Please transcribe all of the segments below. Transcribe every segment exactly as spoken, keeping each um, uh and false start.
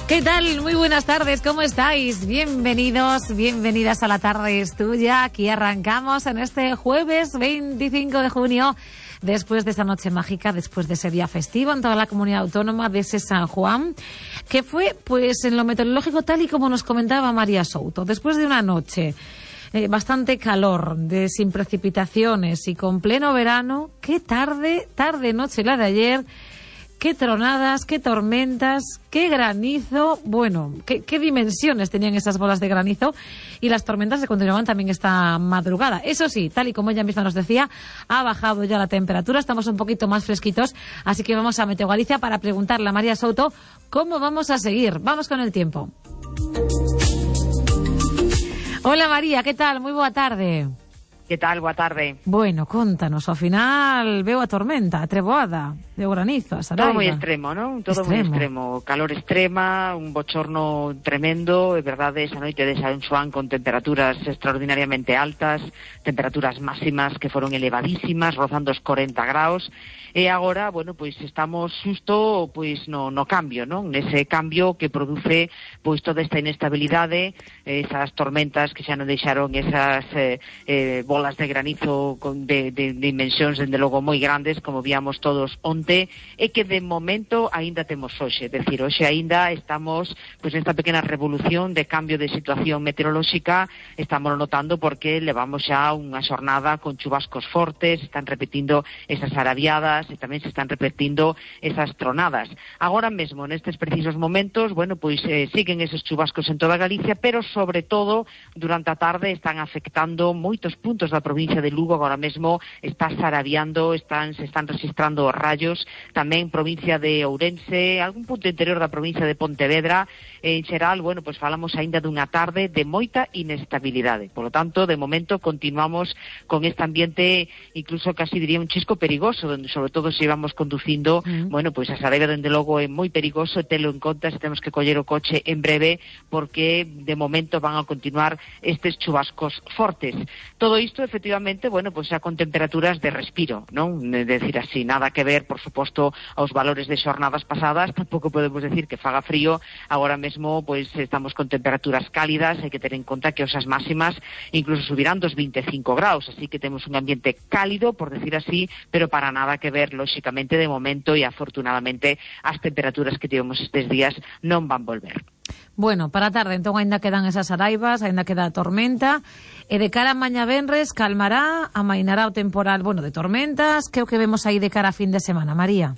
¿Qué tal? Muy buenas tardes, ¿cómo estáis? Bienvenidos, bienvenidas a La Tarde es Tuya. Aquí arrancamos en este jueves veinticinco de junio, después de esa noche mágica, después de ese día festivo en toda la comunidad autónoma de ese San Juan, que fue, pues, en lo meteorológico tal y como nos comentaba María Souto, después de una noche eh, bastante calor, de sin precipitaciones y con pleno verano. Qué tarde, tarde, noche la de ayer. Qué tronadas, qué tormentas, qué granizo. Bueno, qué, qué dimensiones tenían esas bolas de granizo. Y las tormentas se continuaban también esta madrugada. Eso sí, tal y como ella misma nos decía, ha bajado ya la temperatura, estamos un poquito más fresquitos. Así que vamos a Meteo Galicia para preguntarle a María Souto cómo vamos a seguir. Vamos con el tiempo. Hola María, ¿qué tal? Muy boa tarde. Que tal? Boa tarde. Bueno, contanos, ao final veo a tormenta, a treboada, de granizo, a saraiva. Todo moi extremo, non? Todo moi extremo. Calor extrema, un bochorno tremendo, é verdade, esa noite de San Xoán con temperaturas extraordinariamente altas, temperaturas máximas que foron elevadísimas, rozando os corenta graus, e agora, bueno, pois estamos xusto pois no, no cambio, non? Nese cambio que produce pois toda esta inestabilidade, esas tormentas que xa non deixaron esas eh, eh, bolas de granizo con de, de, de dimensións, dende logo, moi grandes, como víamos todos onte, e que de momento aínda temos hoxe, é dicir, hoxe aínda estamos pois nesta pequena revolución de cambio de situación meteorolóxica, estamos notando porque levamos xa unha xornada con chubascos fortes, están repetindo esas arabiadas, e tamén se están repetindo esas tronadas. Agora mesmo, nestes precisos momentos, bueno, pois eh, siguen esos chubascos en toda Galicia, pero sobre todo durante a tarde están afectando moitos puntos da provincia de Lugo. Agora mesmo está sarabiando, están, se están registrando os rayos, tamén provincia de Ourense, algún punto interior da provincia de Pontevedra. En xeral, bueno, pois falamos aínda dunha tarde de moita inestabilidade. Por lo tanto, de momento continuamos con este ambiente, incluso casi diría un chisco perigoso, donde sobre todo se íbamos conducindo, mm. bueno, pois a Saraiva, dende logo, é moi perigoso, telo en conta se temos que coller o coche en breve, porque de momento van a continuar estes chubascos fortes. Todo isto, efectivamente, bueno, pois xa con temperaturas de respiro, non? É dicir así, nada que ver, por suposto, aos valores de xornadas pasadas, tampouco podemos decir que faga frío. Agora mesmo, pois estamos con temperaturas cálidas, hai que ter en conta que osas máximas incluso subirán dos vinte e cinco graus, así que temos un ambiente cálido, por decir así, pero para nada que ver, lóxicamente, de momento, e afortunadamente as temperaturas que tivemos estes días non van volver. Bueno, para a tarde, entón, aínda quedan esas araivas, aínda queda a tormenta, e de cara a mañá venres, calmará, amainará o temporal, bueno, de tormentas. Que é o que vemos aí de cara a fin de semana, María?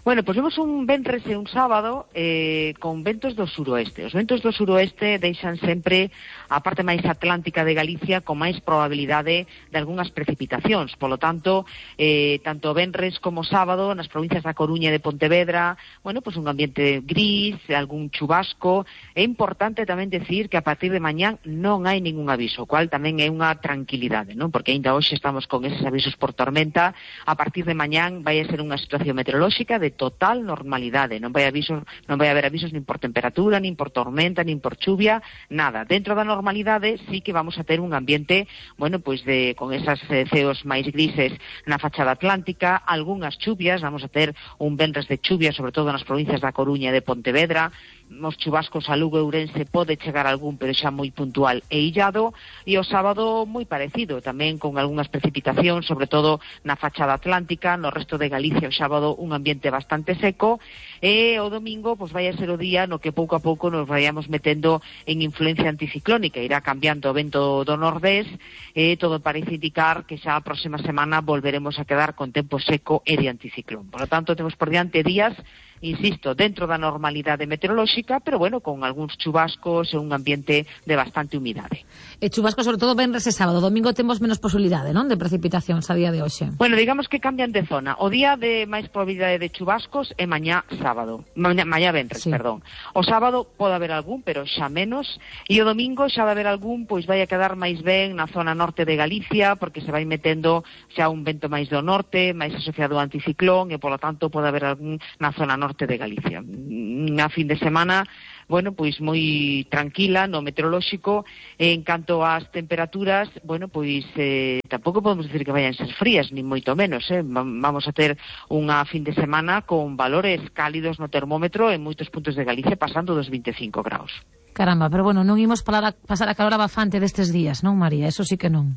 Bueno, pois vemos un venres e un sábado eh, con ventos do suroeste. Os ventos do suroeste deixan sempre a parte máis atlántica de Galicia con máis probabilidade de algunhas precipitacións. Polo tanto, eh, tanto venres como sábado, nas provincias da Coruña e de Pontevedra, bueno, pois un ambiente gris, algún chubasco. É importante tamén decir que a partir de mañán non hai ningún aviso, o cual tamén é unha tranquilidade, non? Porque aínda hoxe estamos con eses avisos por tormenta. A partir de mañán vai a ser unha situación meteorolóxica de total normalidade, non vai avisos, non vai haber avisos nin por temperatura, nin por tormenta, nin por chuvia, nada. Dentro da normalidade sí que vamos a ter un ambiente, bueno, pois de con esas eh, ceos máis grises na fachada atlántica, algunhas chuvias, vamos a ter un venres de chuvia, sobre todo nas provincias da Coruña e de Pontevedra. Os chubascos a Lugo e Ourense pode chegar algún, pero xa moi puntual e illado, e o sábado moi parecido, tamén con algunhas precipitacións, sobre todo na fachada atlántica. No resto de Galicia o sábado un ambiente bastante seco, e o domingo pois vai a ser o día no que pouco a pouco nos vayamos metendo en influencia anticiclónica, irá cambiando o vento do nordés, e todo parece indicar que xa a próxima semana volveremos a quedar con tempo seco e de anticiclón. Por lo tanto, temos por diante días, insisto, dentro da normalidade meteorolóxica, pero bueno, con algúns chubascos e un ambiente de bastante humidade. E chubascos, sobre todo, venres e sábado. Domingo temos menos posibilidade, non?, de precipitacións a día de hoxe. Bueno, digamos que cambian de zona. O día de máis probabilidade de chubascos é mañá sábado. Mañá, mañá venres, sí. perdón. O sábado pode haber algún, pero xa menos. E o domingo xa vai haber algún, pois vai a quedar máis ben na zona norte de Galicia, porque se vai metendo xa un vento máis do norte, máis asociado ao anticiclón, e, polo tanto, pode haber algún na zona norte de Galicia. Na fin de semana bueno, pois moi tranquila no meteorolóxico. En canto ás temperaturas, bueno, pois eh, tampouco podemos dicir que vayan ser frías, ni moito menos, eh? Vamos a ter unha fin de semana con valores cálidos no termómetro en moitos puntos de Galicia, pasando dos vinte e cinco graus. Caramba, pero bueno, non imos para pasar a calor abafante destes días, non, María? Eso sí que non.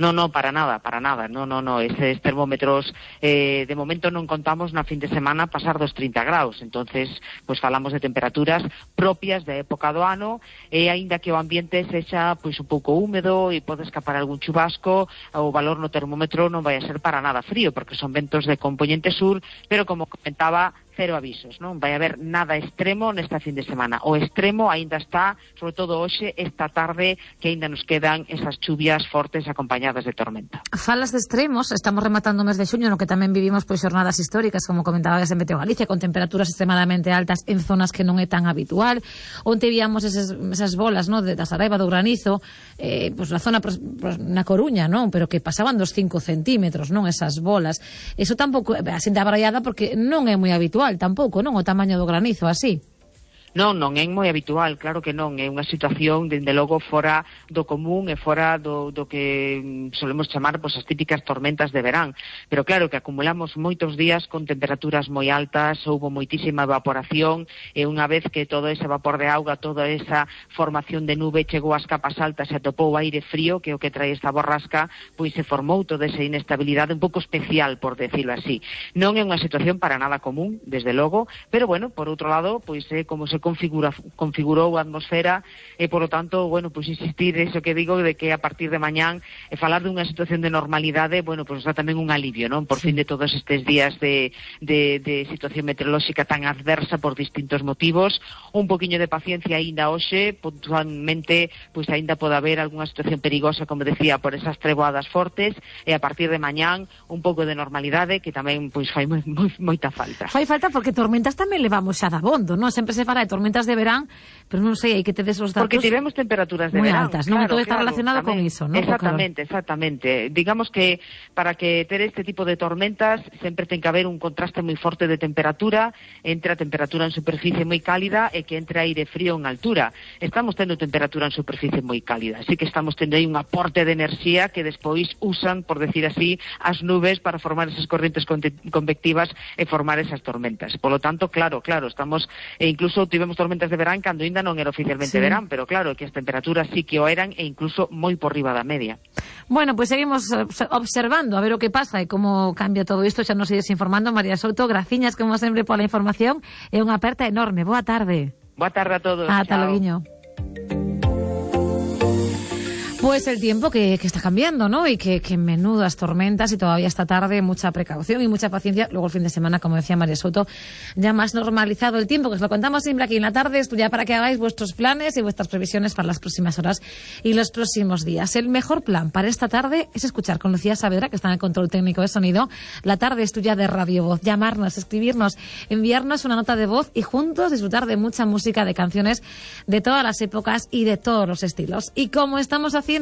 No, no, para nada, para nada, no, no, no, eses termómetros eh, de momento non contamos na fin de semana pasar dos trinta graus, entonces, pois falamos de temperaturas propias da época do ano, e aínda que o ambiente sexa pois un pouco húmedo e pode escapar algún chubasco, o valor no termómetro non vai a ser para nada frío, porque son ventos de componente sur, pero como comentaba, cero avisos, non vai haber nada extremo nesta fin de semana. O extremo aínda está, sobre todo hoxe, esta tarde, que aínda nos quedan esas chuvias fortes acompañadas de tormenta. Falas de extremos, estamos rematando o mes de xuño, no que tamén vivimos pois xornadas históricas, como comentabas en Meteo Galicia, con temperaturas extremadamente altas en zonas que non é tan habitual. Onte víamos esas, esas bolas, no, de da Saraiva, do granizo, eh, pois na zona, pois, na Coruña, non, pero que pasaban dos cinco centímetros, non, esas bolas. Eso tampouco, así de abraiada, porque non é moi habitual tampouco, non, o tamaño do granizo así. Non, non é moi habitual, claro que non, é unha situación, dende logo, fora do común e fora do, do que solemos chamar pois, as típicas tormentas de verán, pero claro que acumulamos moitos días con temperaturas moi altas, houbo moitísima evaporación, e unha vez que todo ese vapor de auga, toda esa formación de nube chegou ás capas altas e atopou aire frío, que é o que trae esta borrasca, pois se formou toda esa inestabilidade un pouco especial, por decirlo así. Non é unha situación para nada común, desde logo, pero bueno, por outro lado, pois é como se configura, configurou a atmosfera e, por lo tanto, bueno, pues insistir eso que digo de que a partir de mañán e falar dunha situación de normalidade, bueno, pues dá tamén un alivio, non? Por fin de todos estes días de, de, de situación meteorolóxica tan adversa por distintos motivos, un poquinho de paciencia aínda hoxe, puntualmente, pois pues, aínda pode haber algunha situación perigosa, como decía, por esas treboadas fortes, e a partir de mañán un pouco de normalidade, que tamén pois pues, fai moi, moi, moita falta. Fai falta porque tormentas tamén levamos xa da bondo, non? Sempre se fala de tormentas de verán, pero non sei, hai que tedes os datos porque tivemos temperaturas de moi verán altas, non? claro, Todo está claro, relacionado tamén, con iso, non? Exactamente, exactamente. Digamos que para que ter este tipo de tormentas sempre ten que haber un contraste moi forte de temperatura entre a temperatura en superficie moi cálida e que entre aire frío en altura. Estamos tendo temperatura en superficie moi cálida, así que estamos tendo aí un aporte de enerxía que despois usan, por decir así, as nubes para formar esas corrientes convectivas e formar esas tormentas. Por lo tanto, claro, claro, estamos, e incluso tivemos tormentas de verán cando ainda non era oficialmente sí. verán, pero claro, que as temperaturas sí que o eran e incluso moi por riba da media. Bueno, pues seguimos observando a ver o que pasa e como cambia todo isto, xa nos ides informando. María Souto, graciñas como sempre pola información e unha aperta enorme. Boa tarde. Boa tarde a todos. Ata loguiño. Pues el tiempo que, que está cambiando, ¿no? Y que, que menudas tormentas, y todavía esta tarde mucha precaución y mucha paciencia. Luego el fin de semana, como decía María Souto, ya más normalizado el tiempo, que os lo contamos siempre aquí en la tarde, esto ya para que hagáis vuestros planes y vuestras previsiones para las próximas horas y los próximos días. El mejor plan para esta tarde es escuchar con Lucía Saavedra, que está en el control técnico de sonido. La tarde es tuya de Radio Voz. Llamarnos, escribirnos, enviarnos una nota de voz y juntos disfrutar de mucha música, de canciones de todas las épocas y de todos los estilos. Y como estamos haciendo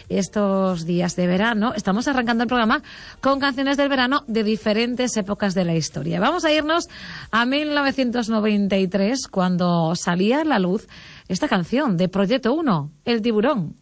estos días de verano, estamos arrancando el programa con canciones del verano de diferentes épocas de la historia. Vamos a irnos a mil novecientos noventa y tres, cuando salía a la luz esta canción de Proyecto uno, El Tiburón.